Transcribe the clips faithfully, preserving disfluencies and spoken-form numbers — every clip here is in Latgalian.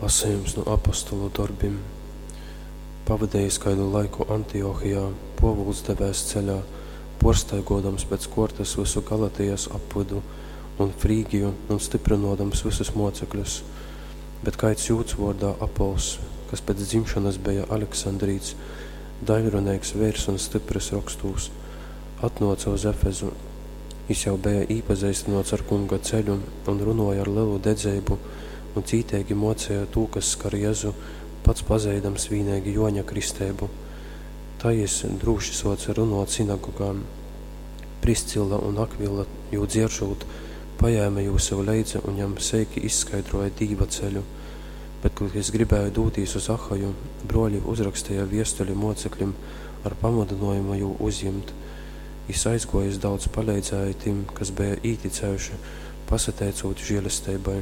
Lasejums nu Apostolu dorbim. Pavadejis kaidu laiku Antiochijā, Pōvuls devēs ceļā, pōrstaigōdams pēc kōrtas vysu Galatijas apvydu un Frygiju un styprynōdams vysus mōcekļus. Bet kaids jūds vōrdā Apollss, kas pēc dzimšonas beja aleksandrīts, daiļruneigs veirs un styprys Rokstūs, atnōce uz Efezu. Jys jau beja īpazeistynōts ar Kunga ceļu un runōja ar lelu dedzeibu un cīteigi mōceja tū, kas skar Jezu, pats pazeidams vīneigi Jōņa kristeibu. Tai jys drūši sōce runōt synagogā. Priscilla un Akvila, jū dzieržūt, pajēme jū sev leidza un jam seiki izskaidrōja Dīva ceļu. Bet, kod jys gribēja dūtīs uz Achaju, brōļi uzraksteja viestuli mōceklim ar pamudynōjumu jū uzjimt. Jys aizgōjis daudz paleidzēja tim, kas beja īticējuši, pasateicūt želesteibai,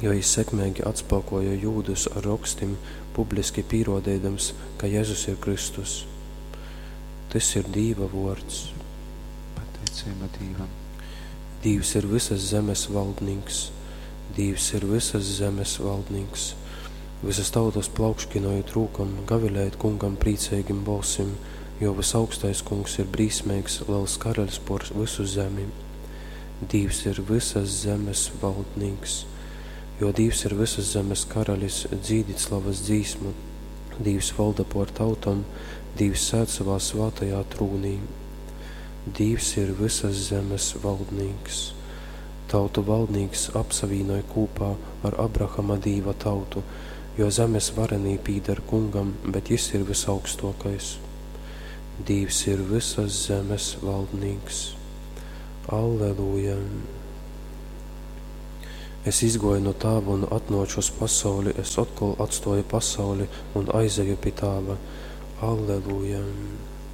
jo jys sekmeigi atspākōja jūdus ar Rokstim, publiski pīrōdeidams, ka Jezus ir Kristus. Tys ir Dīva vōrds. Pateiceiba Dīvam. Dīvs ir vysas zemes valdnīks. Dīvs ir vysas zemes valdnīks. Vysas tautas plaukškinojit rūkom, gavilejit Kungam prīceigim bolsim, jo vysaugstais Kungs ir brīsmeigs, lels karaļs pōr vysu zemi. Dīvs ir vysas zemes valdnīks. Jo Dīvs ir vysas zemes karalis, dzīdit slavas dzīsmu. Dīvs valda pōr tautom, Dīvs sēd savā svātajā trūnī. Dīvs ir vysas zemes valdnīks. Tautu valdnīks apsavīnoj kūpā ar Abrahama Dīva tautu, jo zemes varenī pīdar Kungam, bet jys ir vysaugstōkais. Dīvs ir vysas zemes valdnīks. Alleluja! Es izgōju nu Tāva un atnōču uz pasauli, es otkol atstōju pasauli un aizeju pi Tāva. Alleluja!